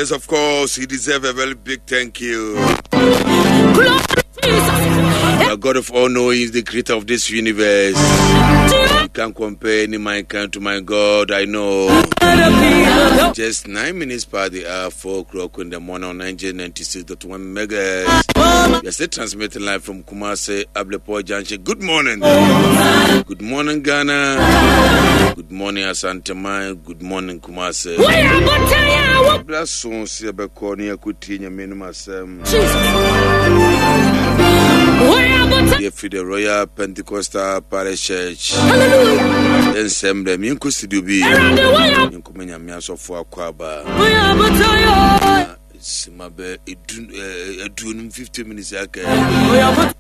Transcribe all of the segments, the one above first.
Yes, of course, he deserves a very big thank you. The God of all knowing is the creator of this universe. You can't compare any mankind to my God, I know. Just 9 minutes past the hour, 4 o'clock in the morning on 1996.1 megahertz. We are still transmitting live from Kumasi, Ablepo Junction. Good morning. Good morning, Ghana. Good morning, Asanteman. Good morning, Kumasi. Bra so sɛ yɛbɛkɔ ne yɛakɔtie Nyame anom asɛm. Yɛfiri the Royal Pentecostal Parish Church. Yɛnsɛm dɛ menkɔ studio bi. Menkɔma Nyame asɔfo akɔ aba. Sima bɛ aduonum 50 minutes aka.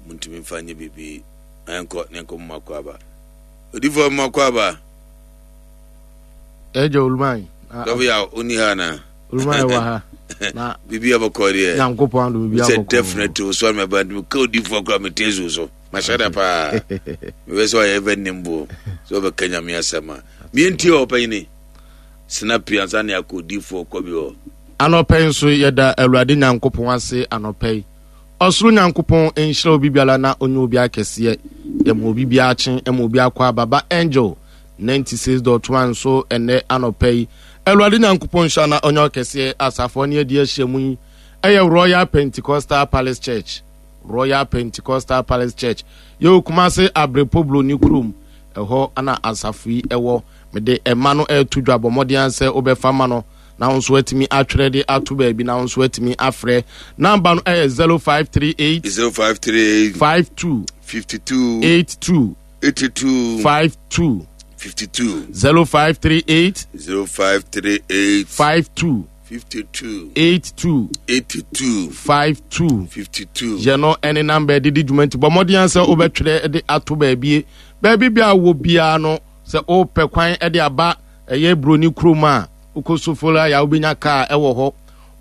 Muntumi mfa nyɛ biribi. Ɛnkɔ ne nkɔ mma akɔ aba. Odifoɔ mma akɔ aba. Ɛgya Oluman. Dɔfo yɛ ɔni ha na. Oluman wɔ ha. Na biribi abɔkɔ deɛ. Nyankopɔn adom biribi abɔkɔ. Sɛ definitely o sɔrɔ mɛ ba ntumi ka odifoɔ kora mɛ te so so. Mahyɛ da paa. Mɛ sɛ ɔyɛ ɛfɛ nimbo. Sɛ ɔbɛka Nyame asɛm a. Mie ntie ɔpanyini. Sena pii ansa ne akɔ odifoɔ kɔ bi hɔ. Anɔpa yi nso yɛda Awurade Nyankopɔn ase anɔpa yi. Ɔsoro Nyankopɔn nhyira obi biara na ɔnyɛ obi akɛseɛ. Yɛma obi biara kye, ɛma obi akɔ aba ba Angel 96.1 so ɛnɛ anɔpa yi. Awurade Nyankopɔn nhyira na ɔnyɛ ɔkɛseɛ. Asafo ne adi ahyia mu yi ɛyɛ Royal Pentecostal Palace Church. Royal Pentecostal Palace Church. Yɛwɔ Kumase Abrepo Broni kurom. Ɛhɔ na asafo yi ɛwɔ. Mede ɛma no ɛreto dwa, bɔ mmɔden sɛ wobɛfa ma no na wo nso atumi atwerɛ de ato baabi na wo nso atumi afrɛ. Namba no ɛyɛ 0538 0538 52 52 82 82 52 52 0538 0538 52 52 82 82 52 52. Yɛ no ɛne namba ɛde di dwuma, nti bɔ mmɔden sɛ wobɛtwerɛ de ato baabie baabi bia wɔ biara no. Sɛ wopɛ kwan de aba ɛyɛ Buroni kurom a, wokɔ Soforo a, wobɛnya kaa ɛwɔ hɔ.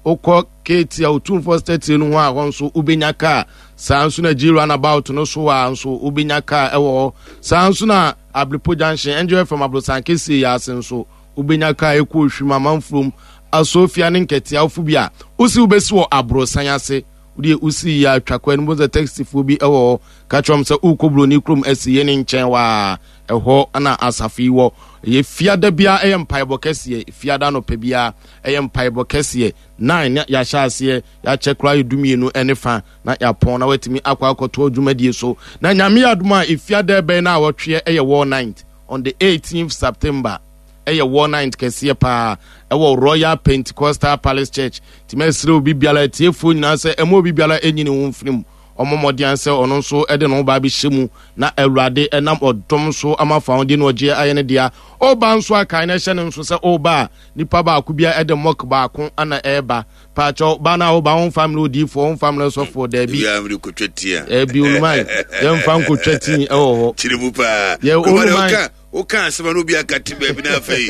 Wokɔ Keeti a Otumfoɔ statue no ho a, hɔ nso wobɛnya kaa. Saa nso na G runabout no so a nso wobɛnya kaa ɛwɔ hɔ. Saa nso na Abrepo Junction, Angel FM aborosan kɛseɛ yi ase nso wobɛnya kaa ɛkɔ Ohwim, Amanfurom, Asofia ne Nkɛtea. Wofo bi a wosi wobɛsi wɔ aborosan ase wodeɛ wosi yɛ atwa kwan no mu sɛ taxifoɔ bi ɛwɔ hɔ, ka kyerɛ wɔn sɛ wokɔ Buroni kurom asi yɛ ne nkyɛn waa, ɛhɔ na asafo yi wɔ. Ɛyɛ fiada biara ɛyɛ mpaebɔ kɛseɛ. Fiada anɔpa biara ɛyɛ mpaebɔ kɛseɛ 9 na yɛahyɛ aseɛ, yɛakyɛ koraa yɛ 12 ɛne fa na yɛapɔn na watumi akɔ akɔtoa dwumadie so. Na Nyame yɛ adom a, efiada ɛbɛn no a wɔtweɛ ɛyɛ War Night on the 18th September. Ɛyɛ War Night kɛseɛ paa ɛwɔ Royal Pentecostal Palace Church. Nti mɛsrɛ obi biara, atiefoɔ nyinaa, sɛ ɛma obi biara ɛnyi ne ho mfiri mu, ɔmmɔ mmɔden sɛ ɔno nso de ne ho ba bɛhyɛ mu na Awurade ɛnam ɔdom so ama fa ho de no ɔgyeɛ ayɛ ne dea. Ɔba nso akae na ɛhyɛ ne nso sɛ ɔba a, nipa baako bia ɛde mɔk baako ana ɛreba. Paakyɛw, ba no a woba, womfa mmerɛ odiifoɔ, womfa mmerɛ sɔfoɔ, daabi. Ebi a kotwa tia. Ɛbi oluman, yɛmfa nkotwa tii ɛwɔ hɔ. Kyerɛ mu paa. Yɛ oluman. Woka asɛm a na obi aka te baabi na afei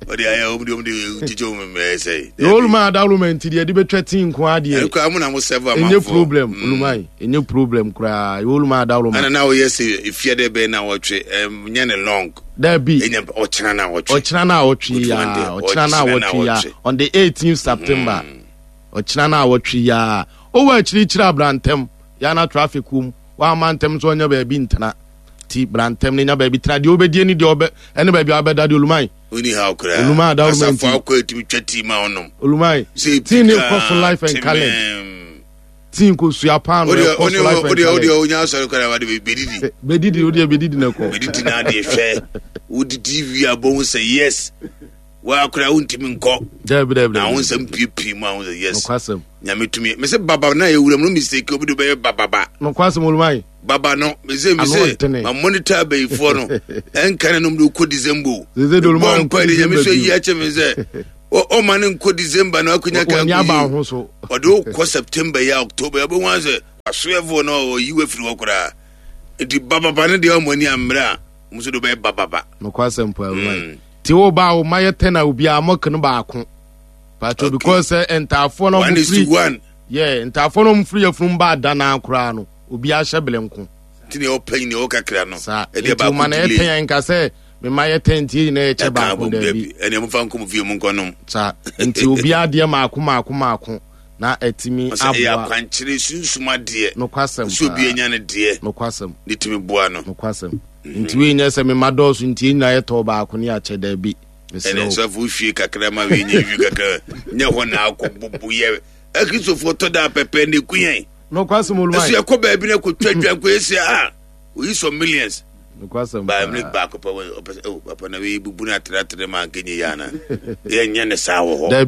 ɔde ayɛ ɔm de ɔm de gyegye ɔm mmerɛ sɛ. Yɛ oluman adawoloma nti deɛ yɛde bɛtwa tii nko adeɛ. Ɛkɔ amu na mo sɛfo amanfoɔ. Ɛnyɛ problem oluman, ɛnyɛ problem koraa, yɛ oluman adawoloma. Ɛna na woyɛ sɛ efia dɛ bɛn na wɔtwe ɛnyɛ ne long. Dabi. Ɛnyɛ ɔkyena na wɔtwe. Ɔkyena na wɔtwe ya, ɔkyena na wɔtwe ya on the 18th September. Ɔkyena na wɔtwe ya. Owó akyirikyiri abrantɛm yana traffic wom wama ntɛm nso ɔnyɛ baabi ntena ti brantɛm ne nya baabi tena deɛ wobɛdie ne deɛ ɔbɛ ɛne baabi a wobɛda deɛ oluman. Oni ha koraa. Oluman adawoloma nti. Asafo akɔ etumi twa tii ma ɔnom. Oluman tii ne kɔ so life and colored tii nkosua paano ɛkɔ so life and colored. Odeɛ onya asɔre koraa wade bɛdidi. Bɛdidi odeɛ bɛdidi na kɔ. Bɛdidi na adeɛ hwɛ wodidi wie abɔ ho sɛ yes wakora wontumi nkɔ. Dabi dabi. Na wo nsɛm piepie mu a wo sɛ yes. Nokwasɛm. Nyame tumi mese baba na yɛwura mu no mistake obi de bɛyɛ bababa. Nokwasɛm oluman. Baba no mese mese ma monitor abayifoɔ no ɛnka ne nom de wokɔ December o. Bɔ mpa de Nyame so ayi akyɛ me sɛ ɔma ne nkɔ December na akonya ka akɔyi ɔde wokɔ September yi a October wobɛhu a sɛ wasoɛfoɔ no ɔyi wafiri hɔ koraa. Nti bababa no deɛ ɔmo ani ammerɛ a ɔmo so de wobɛyɛ bababa. Nokwasɛm paa oluman. Ti wo ba wo ma yɛ tɛn a obiara mɔk no baako. Pato because sɛ ntaafoɔ no ɔmo firi yɛ ntaafoɔ no ɔmo firi yɛfunu ba adanaa koraa no obiara hyɛ bele nko. Nti nea ɔpɛ nea ɔkakra no. Saa nti wo ma na yɛ tɛn nka sɛ. Mema yɛ tɛn nti yɛn nyinaa yɛkyɛ Ɛka baako abom daabi. dabi. Ɛnna mofa nkɔ mo fie mu nkɔnom. Saa nti obiara deɛ maako maako maako na atumi Ɔsɛ ɛyɛ aboa. akwankyerɛ sunsum adeɛ. Nokwasɛm Sɛ obi paa. anya ne deɛ Nokwasɛm. ne tumi boa no. Nokwasɛm. Nti wei nyɛ sɛ mema dɔɔso nti yɛn nyinaa yɛtɔɔ baako ne akyɛ daabi. Mesrɛ Ɛnna wo. sɔfo hwie kakra ma wei nyɛ hwie kakra nyɛ hɔ na akɔ bubu yɛ. Akristofoɔ tɔ da pɛpɛ na eku yɛn. Nokwasɛm Ɛso Oluman. yɛkɔ baabi na kɔtwa dwa nkɔ yɛsi a oyi sɔ millions. Nokwasɛm Baa mmiri paa. baako pɛ wɔ ɔpɛ sɛ oh papa na wei bubu no atrɛatrɛ ma anka nyɛ yɛ ana. Yɛnyɛ ne saa wɔ hɔ. Daabi.